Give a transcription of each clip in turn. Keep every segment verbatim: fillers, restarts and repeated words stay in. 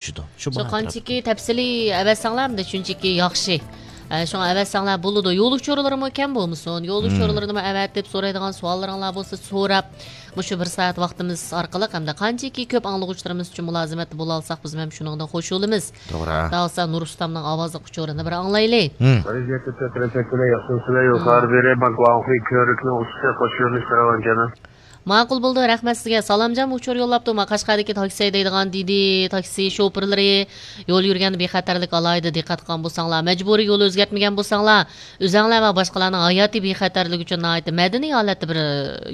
چۈشىدۇ. شۇ شۇ باھا قانچىكى ئەتراپىدا. تەپسىلىي ئەۋەتسەڭلار، ئەمدى شۇنچىكى ياخشى. ئە، شۇڭا ئەۋەتسەڭلار بولىدۇ. يول ئۇچۇرلىرىمۇ كەم بولمىسۇن. يول مم. ئۇچۇرلىرىنىمۇ ئەۋەتىپ، سورايدىغان سوئاللىرىڭلار بولسا سوراپ، مۇشۇ بىر سائەت ۋاقتىمىز ئارقىلىق ھەمدە قانچىكى كۆپ ئاڭلىغۇچىلىرىمىز ئۈچۈن مۇلازىمەتتە بولالىساق، بىز ھەم شۇنىڭدىن خوش بولىمىز. توغرا. داۋالسا نۇر ئۇستامنىڭ ئاۋازلىق ئۇچۇرىنى بىر ئاڭلايلى. مم. ئەزىزلىكتە تەشەككۈرلەر، ياخشىمۇسىلەر؟ يۇقىرى بېرى بانك ۋاڭخۇي كۆۋرۈكنىڭ ئۇستىسى قوشۇۋېلىش راۋان جانا. ماقۇل بولدى، رەھمەت سىزگە. سالامجان ئۇچۇر يوللاپتۇ، ما قەشقەردىكى تاكسى ھەيدەيدىغان دېدى، تاكسى شوپۇرلىرى يول يۈرگەندە بىخەتەرلىك ئالاھىدە دىققەت قىلغان بولساڭلار، مەجبۇرىي يول ئۆزگەرتمىگەن بولساڭلار، ئۆزەڭلار ۋە باشقىلارنىڭ ھاياتىي بىخەتەرلىكى ئۈچۈن ناھايىتى مەدەنىي ھالەتتە بىر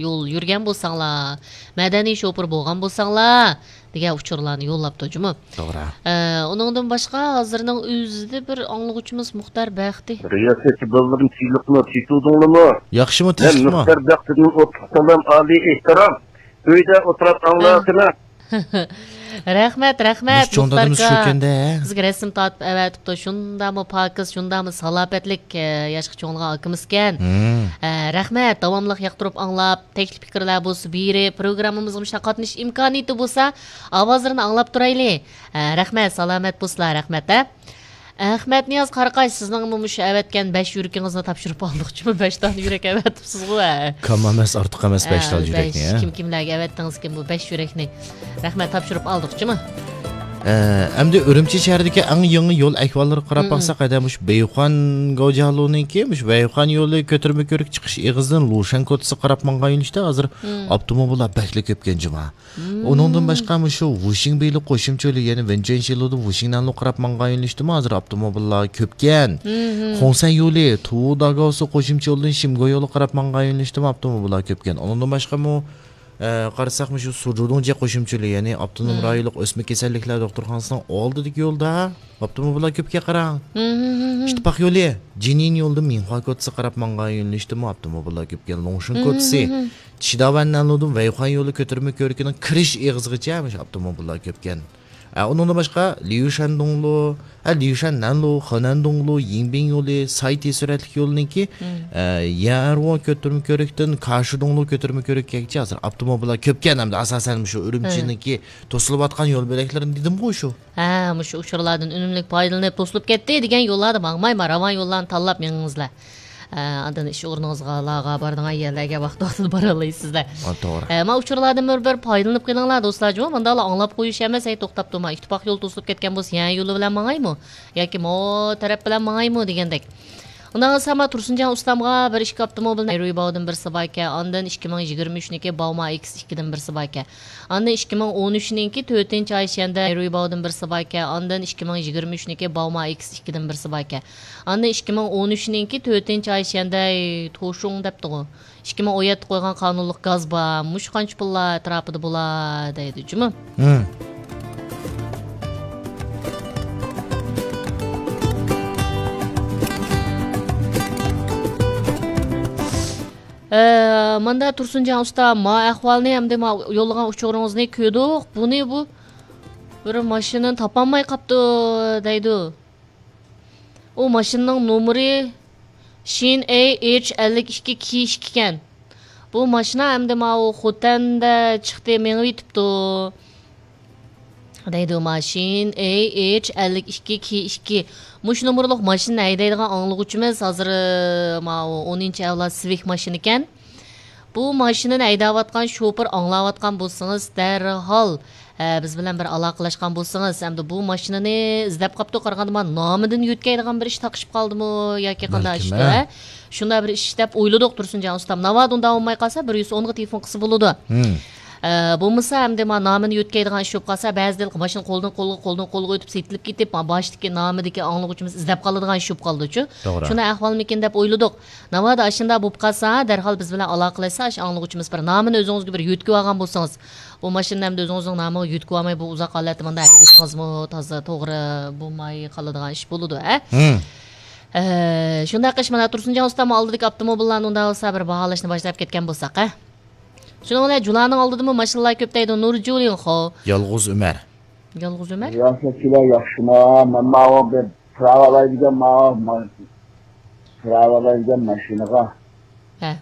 يول يۈرگەن بولساڭلار، مەدەنىي شوپۇر بولغان بولساڭلار، دېگەن ئۇچۇرلارنى يوللاپتۇ جۇمۇ. توغرا. ئە، ئۇنىڭدىن باشقا ھازىرنىڭ ئۆزىدە بىر ئاڭلىغۇچىمىز مۇختار بەختى. رىياسەتچى بالىلىرىم، تىنچلىقمۇ، تېتىۋالدىڭلارمۇ؟ ياخشىمۇ، مەن تىنچلىقمۇ؟ مۇختار بەختىدىن ئوتلۇق سالام، ئالىي ئېھتىرام. ئۆيدە ئولتۇرۇپ ئاڭلاۋاتىمەن. رەھمەت، رەھمەت، مۇشۇ چوڭ دادىمىز مۇختار شۇ ئاكا. ئىكەن-دە. بىزگە رەسىم تارتىپ ئەۋەتىپتۇ. شۇنداقمۇ پاكىز، شۇنداقمۇ سالاپەتلىك، ئە، ياشقا چوڭلىغان ئاكىمىزكەن. مم. ئە، رەھمەت، داۋاملىق ياقتۇرۇپ ئاڭلاپ، تەكلىپ پىكىرلەر بولسا بېرىپ، پروگراممىمىزغا مۇشۇنداق قاتنىشىش ئىمكانىيىتى بولسا، ئاۋازلىرىنى ئاڭلاپ تۇرايلى. ئە، رەھمەت، سالامەت بولسىلا، رەھمەت، ھە. ئەخمەتنىياز قاراقاش، سىزنىڭمۇ مۇشۇ ئەۋەتكەن بەش يۈرىكىڭىزنى تاپشۇرۇپ ئالدۇقچىمۇ؟ بەش دانە يۈرەك ئەۋەتىپسىزغۇ، ھە. كام ئەمەس، ئارتۇق ئەمەس، بەش ھە، دانە بەش. يۈرەكنى، ھە. كىم كىملەرگە ئەۋەتتىڭىزكىن بۇ بەش يۈرەكنى؟ رەھمەت، تاپشۇرۇپ ئالدۇقچىمۇ؟ ئە، ئەمدى ئۈرۈمچى شەھىرىدىكى ئەڭ يېڭى يول ئەھۋاللىرىغا قاراپ مم. باقساق، ھەدە مۇشۇ بېيخۇەن گاۋجيالۇنىڭكى مۇشۇ بېيخۇەن يولى كۆتۈرمە كۆۋرۈك چىقىش ئېغىزىدىن لۇشەن كوچىسىغا قاراپ ماڭغان يۆنىلىشتە ھازىر مم. ئاپتوموبىللار بەكلا كۆپكەن جۇما. مم. ئۇنىڭدىن باشقا مۇشۇ ۋۇشىڭبېيلۇ قوشۇمچە يولى، يەنى ۋېنچۈەنشى يولىدىن ۋۇشىڭنەنلۇ قاراپ ماڭغان يۆنىلىشتىمۇ ھازىر ئاپتوموبىللار كۆپكەن. مم. خۇڭسەن يولى، تۇۋۇ داگاۋسۇ قوشۇمچە يولىدىن شىمگو يولىغا قاراپ ماڭغان يۆنىلىشتىمۇ ئاپتوموبىللار كۆپكەن. ئۇنىڭدىن باشقىمۇ ئە، قارىساق، مۇشۇ سۇجۇدۇڭجيې قوشۇمچە يولى، يەنى ئاپتونوم مم. رايونلۇق ئۆسمە كېسەللىكلەر دوختۇرخانىسىنىڭ ئالدىدىكى يولدا ئاپتوموبىللار كۆپكەن، قاراڭ. مم، مم، مم، مم. ئىتتىپاق يولى، جىنيىن يولىدىن مىنخۇا كوچىسىغا قاراپ ماڭغان يۆنىلىشتىمۇ ئاپتوموبىللار كۆپكەن. لۇڭشىن مم، كوچىسى، مم، مم. چىداۋەن نەنلۇدىن ۋەيخۇەن يولى كۆتۈرمە كۆۋرۈكىنىڭ كىرىش ئېغىزىغىچە مۇشۇ ئاپتوموبىللار كۆپكەن. ئە، ئۇنىڭدىن باشقا، ليۇشەندۇڭلۇ، ھە، ليۇشەن نەنلۇ، خېنەندۇڭلۇ، يىڭبىڭ يولى، سايتى سۈرئەتلىك يولىنىڭكى، مم. ئە، يەنئەرۋو كۆتۈرمە كۆۋرۈكتىن كاشىدۇڭلۇ كۆتۈرمە كۆۋرۈككىچە ھازىر ئاپتوموبىللار كۆپكەن ھەمدە ئاساسەن مۇشۇ ئۈرۈمچىنىڭكى توسۇلۇۋاتقان يول بۆلەكلىرىنى دېدىمغۇ شۇ. ھە، مۇشۇ ئۇچۇرلاردىن ئۈنۈملۈك پايدىلىنىپ توسۇلۇپ كەتتى دېگەن يوللاردا ماڭمايما، راۋان يوللارنى تاللاپ مېڭىڭىزلەر. ئە، ئاندىن ئىش ئورنىڭىزغا، لاغا بارىدىغان يەرلەرگە ۋاقتى ۋاقتىدا بارالىسىزلەر. ئا، توغرا. ئە، ما ئۇچۇرلاردىن بىر، بىر پايدىلىنىپ قېلىڭلار دوستلار جۇمۇ. مانداقلا ئاڭلاپ قويۇش ئەمەس، ھەي توختاپ تۇرما، ئىتتىپاق يول توسۇلۇپ كەتكەن بولسا يەنە يولى بىلەن ماڭايمۇ ياكى مو تەرەپ بىلەن ماڭايمۇ دېگەندەك. ئۇنداق بولسا ما تۇرسۇنجان ئۇستامغا بىر ئىككى ئاپتوموبىل نەيرۇيباۋدىن بىرسى باركەن، ئاندىن ئىككى مىڭ يىگىرمە ئۈچنىڭكى باۋما ئېكس ئىككىدىن بىرسى باركەن. ئاندىن ئىككى مىڭ ئون ئۈچنىڭكى تۆتىنچى ئاي شيەندە نەيرۇيباۋدىن بىرسى باركەن، ئاندىن ئىككى مىڭ يىگىرمە ئۈچنىڭكى باۋما ئېكس ئىككىدىن بىرسى باركەن. ئاندىن ئىككى مىڭ ئون ئۈچنىڭكى تۆتىنچى ئاي شيەندە توشۇڭ دەپتىغۇ. ئىككى مىڭ ئون يەتتە قويغان قانۇنلۇق گاز بار. مۇشۇ قانچە پۇللار ئەتراپىدا بولا دەيدۇ جۇمۇ. ھىم. ئە، ماندا تۇرسۇنجان ئۇستا، ما ئەھۋالنى ھەمدە ما يوللىغان ئۇچۇرىڭىزنى كۆردۇق. بۇنى بۇ بىر ماشىنىنى تاپالماي قاپتۇ دەيدۇ. ئۇ ماشىنىنىڭ نومۇرى شىن ئەي ئېيچ ئەللىك ئىككى كى ئىككى ئىكەن. بۇ ماشىنا ئەمدى ماۋۇ خوتەندە چىقتى، مېڭىۋېتىپتۇ. دەيدۇ، ماشىن ئەي ئېيچ ئەللىك ئىككى كى ئىككى. مۇشۇ نومۇرلۇق ماشىنىنى ھەيدەيدىغان ئاڭلىغۇچىمىز ھازىر، ماۋۇ ئونىنچى ئەۋلاد سىۋىك ماشىنىكەن. بۇ ماشىنىنى ھەيدەۋاتقان شوپۇر ئاڭلاۋاتقان بولسىڭىز، دەرھال، ئە، بىز بىلەن بىر ئالاقىلەشكەن بولسىڭىز، ئەمدى بۇ ماشىنىنى ئىزدەپ قاپتۇ، قارىغاندا مانا نامىدىن يۆتكەيدىغان بىر ئىش تاقىشىپ قالدىمۇ ياكى قانداق بەلكىم، ئىشتۇ، ھە؟ ھە؟ شۇنداق بىر ئىش دەپ ئويلىدۇق تۇرسۇنجان ئۇستام. ناۋادا ئۇنداق بولماي قالسا، بىر يۈز ئونغا تېلېفون قىلسا بولىدۇ. ھىم. ئە، بولمىسا ئەمدى ما نامىنى يۆتكەيدىغان ئىش بولۇپ قالسا، بەزىدە ماشىنا قولدىن قولغا، قولدىن قولغا ئۆتۈپ سېتىلىپ كېتىپ، ما باشتىكى نامىدىكى ئاڭلىغۇچىمىز ئىزدەپ قالىدىغان ئىش بولۇپ قالىدۇچۇ. توغرا. شۇنداق ئەھۋالمىكىن دەپ ئويلىدۇق. ناۋادا ئاشۇنداق بولۇپ قالسا، دەرھال بىز بىلەن ئالاقىلەشسە، ئاشۇ ئاڭلىغۇچىمىز بىر نامىنى ئۆزىڭىزگە بىر يۆتكىۋالغان بولسىڭىز، بۇ ماشىنىنى ئەمدى ئۆزىڭىزنىڭ نامىغا يۆتكىۋالماي، بۇ ئۇزاق ھالەتتە مۇنداق ھەيدىسىڭىزمۇ تازا توغرا بولماي قالىدىغان ئىش بولىدۇ، ھە؟ ھىم. ئە، شۇنداق قىلىش، مانا تۇرسۇنجان ئۇستام ئالدىدىكى ئاپتوموبىللارنى ئۇنداق بولسا بىر باھالاشنى باشلاپ كەتكەن بولساق، ھە؟ شۇنىڭ بىلەن جۇلانىڭ ئالدىدىمۇ ماشىنىلار كۆپ دەيدۇ، نۇرجۇلىنخو. يالغۇز ئۆمەر. يالغۇز ئۆمەر؟ رىياسەتچىلەر ياخشىما؟ مەن ماۋۇ بىر پىراۋالايدىكەن، ماۋۇ ما-، پىراۋالايدىكەن ماشىنىغا. ھە.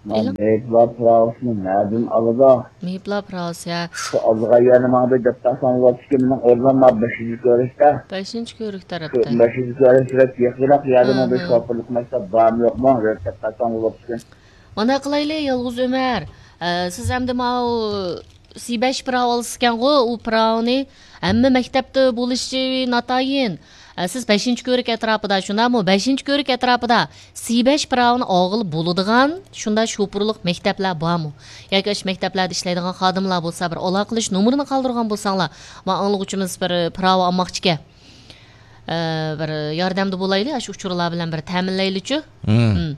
مېيىپلار پىراۋىسىنى نەدىن ئالىدۇ؟ مېيىپلار پىراۋىسى، ھە. شۇ ئالدىغا يەنە ماڭدى دەپ تاقساڭ بولاتتىكەن، مېنىڭ ئورنۇم بار بەشىنچى كۆرۈشتە. بەشىنچى كۆرۈك تەرەپتە. بەشىنچى كۆرۈش بەك يېقىنراق يەردە ماڭدى، شوپۇرلۇق مەكتەپ بارمۇ يوقمۇ دەپ تاقساڭ بولاتتىكەن. مانا قىلايلى، يالغۇز ئۆمەر. ئە، سىز ئەمدى ماۋۇ سى بەش پىراۋ ئالىسىكەنغۇ، ئۇ پىراۋنى ھەممە مەكتەپتە بولۇشى ناتايىن. ئە، سىز بەشىنچى كۆرۈك ئەتراپىدا، شۇنداقمۇ؟ بەشىنچى كۆرۈك ئەتراپىدا سى بەش پىراۋنى ئالغىلى بولىدىغان شۇنداق شوپۇرلۇق مەكتەپلەر بارمۇ؟ ياكى ئاشۇ مەكتەپلەردە ئىشلەيدىغان خادىملار بولسا، بىر ئالاقىلىشىش نومۇرىنى قالدۇرغان بولساڭلار، ما ئاڭلىغۇچىمىز بىر پىراۋا ئالماقچىكەن. ئە، بىر ياردەمدە بولايلى، ئاشۇ ئۇچۇرلار بىلەن بىر تەمىنلەيلىچۇ. مم. مم.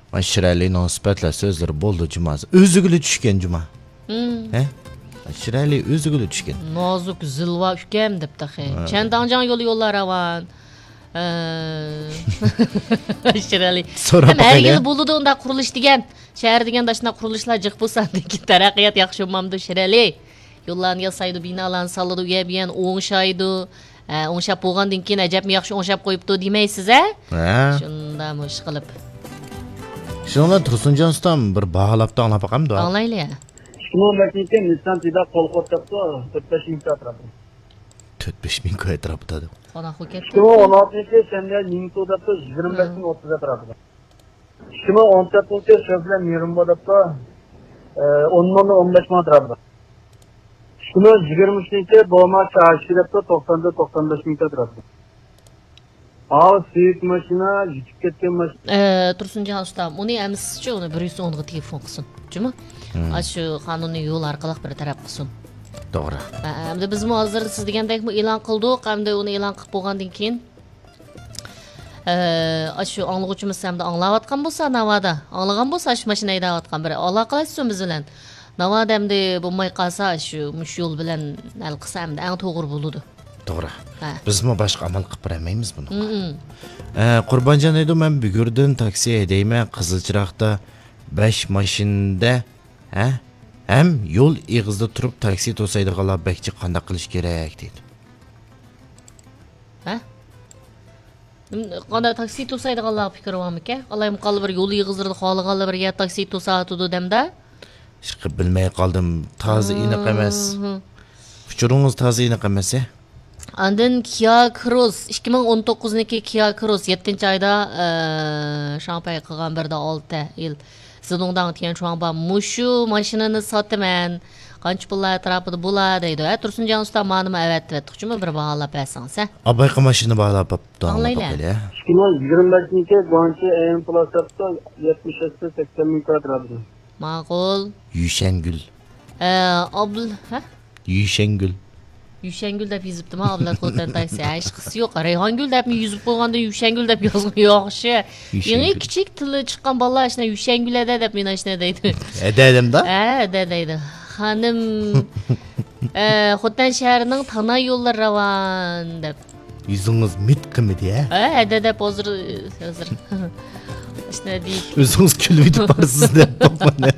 مانا شىرئەلىنىڭ سۈپەتلەر سۆزلىرى بولدى جۇما. ئۆزىگىلا چۈشكەن جۇما. مم. ھە؟ شىرئەلى ئۆزىگىلا چۈشكەن. نازۇك زىلۋا ئۇكام دەپ تېخى. ھە. چەنداڭجاڭ يولى يوللار راۋان. ئە، شىرئەلى. سوراپ ھەم ھەر باقايلى. يىل بولىدۇ ئۇنداق قۇرۇلۇش دېگەن. شەھەر دېگەندە ئاشۇنداق قۇرۇلۇشلار جىق بولسا، لېكىن تەرەققىيات ياخشى بولمامدۇ، شىرئەلى؟ يوللارنى ياسايدۇ، بىنالارنى سالىدۇ، ئۇ يەر بۇ يەرنى ئوڭشايدۇ. ئە، ئوڭشاپ بولغاندىن كېيىن ئەجەبمۇ ياخشى ئوڭشاپ قويۇپتۇ دېمەيسىز، ھە؟ ھە. شۇنداقمۇ ئىشقىلىپ. شۇنىڭ بىلەن تۇرسۇنجان ئۇستام بىر باھالاپتۇ، ئاڭلاپ باقامدۇ؟ ئاڭلايلى. ئىككى مىڭ بەشىنچى يىلى نىسسان تىدا قول قوت دەپتۇ، تۆت بەش مىڭ ئەتراپىدا. تۆت بەش مىڭ ئەتراپىدا دەپ. قانداق ئۇكەم؟ ئىككى مىڭ ئون ئالتىنچى يىلى شەنبە نىڭتۇ دەپتۇ، يىگىرمە بەشتىن ئوتتۇز ئەتراپىدا. ئىككى مىڭ ئون تۆتىنچى يىلى شۆفلەر مېرىمبو دەپتۇ، ئە، ئون مىڭدىن ئون بەش مىڭ ئەتراپىدا. ئىككى مىڭ يىگىرمە ئۈچىنچى يىلى بوما چاشى دەپتۇ، توقساندىن توقسان بەش مىڭ ئەتراپىدا. ھاۋ، سۈيۈك ماشىنا، يىتىپ كەتكەن ماشىنا. ئە، تۇرسۇنجان ئۇستام، ئۇنى ئەمىسىچۇ، ئۇنى بىر يۈز ئونغا تېلېفون قىلسۇن، جۇمۇ؟ مم. ئاشۇ قانۇننى يول ئارقىلىق بىر تەرەپ قىلسۇن. توغرا. ئە، ئەمدى بىزمۇ ھازىر سىز دېگەندەكمۇ ئېلان قىلدۇق، ئەمدى ئۇنى ئېلان قىلىپ بولغاندىن كېيىن، ئە، ئاشۇ ئاڭلىغۇچىمىز ئەمدى ئاڭلاۋاتقان بولسا، ناۋادا، ئاڭلىغان بولسا، ئاشۇ ماشىنا ھەيدەۋاتقان بىر ئالاقىلەشسۇن بىز بىلەن. ناۋادا ئەمدى بولماي قالسا، شۇ، مۇشۇ يول بىلەن ھەل قىلسا، ئەمدى ئەڭ توغرا بولىدۇ. توغرا. ھە. بىزمۇ باشقا ئامال قىلىپ بېرەلمەيمىز بۇنىڭغا. مم. ئە، قۇربانجان دەيدۇ، مەن بۈگۈردىن تاكسى ھەيدەيمەن، قىزىلچىراغدا بەش ماشىنىدا، ھە؟ ھەم يول ئېغىزىدا تۇرۇپ تاكسى توسايدىغانلار بەك جىق، قانداق قىلىش كېرەك دەيدۇ. ھە؟ قانداق تاكسى توسايدىغانلارغا پىكرى بارمىكەن؟ ئالايمۇقاللا بىر يول ئېغىزلىرىدا خالىغانلا بىر يەر تاكسى توساتىدۇ دەمدە؟ ئىشقىلىپ بىلمەي قالدىم. تازا ئېنىق ئەمەس. مم. ئۇچۇرىڭىز تازا ئېنىق ئەمەس، ھە؟ ئاندىن كىيا كروس، ئىككى مىڭ ئون توققۇزنىڭكى كىيا كروس، يەتتىنچى ئايدا، ئە، شاڭپەي قىلغان بىر دە ئالتە يىل. زىدۇڭداڭ تيەنچۇاڭبا مۇشۇ ماشىنىنى ساتىمەن. قانچە پۇللار ئەتراپىدا بولا دەيدۇ. ھە، تۇرسۇنجان ئۇستا، مانىمۇ ئەۋەتىۋەتتۇق جۇمۇ، بىر باھالاپ بەرسىڭىز، ھە؟ ئابايقا ماشىنا باھالاپ بوپتۇ، ئاڭلاپ ئاڭلايلى. باقايلى، ھە؟ ئىككى مىڭ يىگىرمە بەشنىڭكى گۇاڭچى ئەيەن پلاس دەپتۇ، يەتمىش ئەتسە سەكسەن مىڭ كۋادراتنى. ماقۇل. يۈشەنگۈل. ئە، ئابل-، ھە؟ يۈشەنگۈل. يۈشەنگۈل دەپ يېزىپتىما، ئابلەت خوتەن تايسى. ھە، ھېچقىسى يوق. رەيھانگۈل دەپمۇ يېزىپ قويغاندىن يۈشەنگۈل دەپ يازغىنى ياخشى. يېڭى يۈشەنگۈل. كىچىك تىلى چىققان بالىلار ئاشۇنداق يۈشەنگۈل ھەدە دەپ مېنى ئاشۇنداق دەيدۇ. ھەدە دەمدا؟ ھە، ھەدە دەيدۇ. خانىم، ئە، خوتەن شەھىرىنىڭ تاناي يوللىرى راۋان دەپ. يۈزىڭىز مىت قىمىدى، ھە؟ ھە، ھەدە دەپ ھازىر، ھازىر. ئاشۇنداق دېيىپ. ئۆزىڭىز كۈلۈۋېتىپ بارسىز دەپ باقمىدى.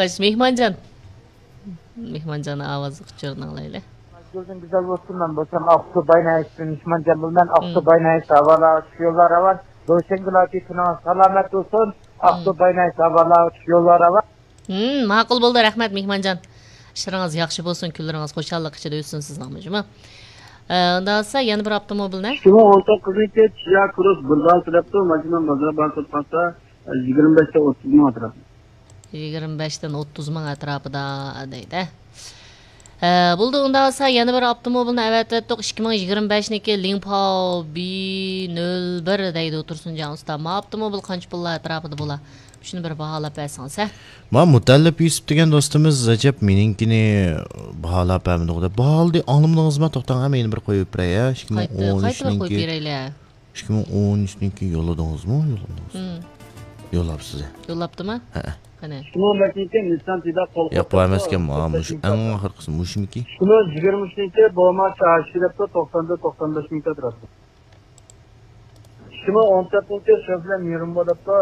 خوش، مېھمانجان. مېھمانجاننىڭ ئاۋازلىق ئۇچۇرىنى ئاڭلايلى. گۈلدىن گۈزەل بولسۇن، مەن بولسام ئاقسۇ باينايىش مېھمانجان بولىمەن. ئاقسۇ باينايىش ھاۋالار ئۈچ يوللار راۋان. روشەنگۈل ئاكا، كۈنىڭىز سالامەت بولسۇن. ئاقسۇ باينايىش ھاۋالار ئۈچ يوللار راۋان. ھىم، ماقۇل بولدى، رەھمەت مېھمانجان. ئىشلىرىڭىز ياخشى بولسۇن، كۈنلىرىڭىز خۇشاللىق ئىچىدە ئۆتسۇن سىزنىڭمۇ جۇمۇ. ئە، ئۇنداق بولسا يەنە بىر ئاپتوموبىلنى. ئىككى مىڭ ئون توققۇزىنچى كىيا كروس بىر بال تەرەپتۇ، ماشىنا مازار بار تۇرۇپ قالسا، يىگىرمە بەشتە ئوتتۇز مىڭ ئەتراپىدا. يىگىرمە بەشتىن ئوتتۇز مىڭ ئەتراپىدا دەيدۇ. ھە، بولدى، ئۇنداق بولسا يەنە بىر ئاپتوموبىلنى ئەۋەتىۋەتتۇق. ئىككى مىڭ يىگىرمە بەشنىڭكى لىڭپاۋ بى نۆل بىر دەيدۇ تۇرسۇنجان ئۇستا. ما ئاپتوموبىل قانچە پۇللار ئەتراپىدا بولا؟ شۇنى بىر باھالاپ بەرسىڭىز، ھە؟ ما مۇتەللىپ يۈسۈپ دېگەن دوستىمىز ئەجەب مېنىڭكىنى باھالاپ بەرمىدىغۇ دەپ. باھالىدى، ئاڭلىمىدىڭىزما؟ توختاڭ، ھە، مەن يەنە بىر قويۇپ بېرەي، ھە. قايتا، قايتا بىر قويۇپ بېرەيلى، ھە. ئىككى مىڭ ئون ئۈچنىڭكى يوللىدىڭىزمۇ؟ يوللىدىڭىز. مم. يوللاپسىز، ھە. يوللاپتىما؟ ھەئە. قېنى. ئىككى مىڭ ئون بەشنىڭكى نىسسان تىدا قول ئەيوق، بۇ ئەمەسكەن، ماۋۇ مۇشۇ ئەڭ ئاخىرقىسى، مۇشۇمىكى؟ ئىككى مىڭ يىگىرمە ئۈچىنچى بوما چاشى دەپتۇ، توقساندىن توقسان بەش مىڭ ئەتراپىدا. ئىككى مىڭ ئون تۆتىنچى شۆفلەر مېرىمبو دەپتۇ،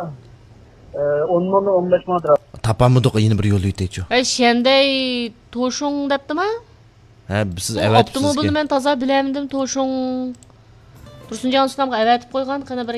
ئە، ئون مىڭدىن ئون بەش مىڭ ئەتراپىدا. تاپالمىدۇق، يەنە بىر يوللىۋېتەيچۇ. ئەي، شيەندەي توشۇڭ دەپتىما؟ ھە، سىز ئۇ ئەۋەتىپسىز ئاپتوموبىلنى ئىكەن. مەن تازا بىلەلمىدىم، توشۇڭ. تۇرسۇنجان ئۇستامغا ئەۋەتىپ قويغان، قېنى بىر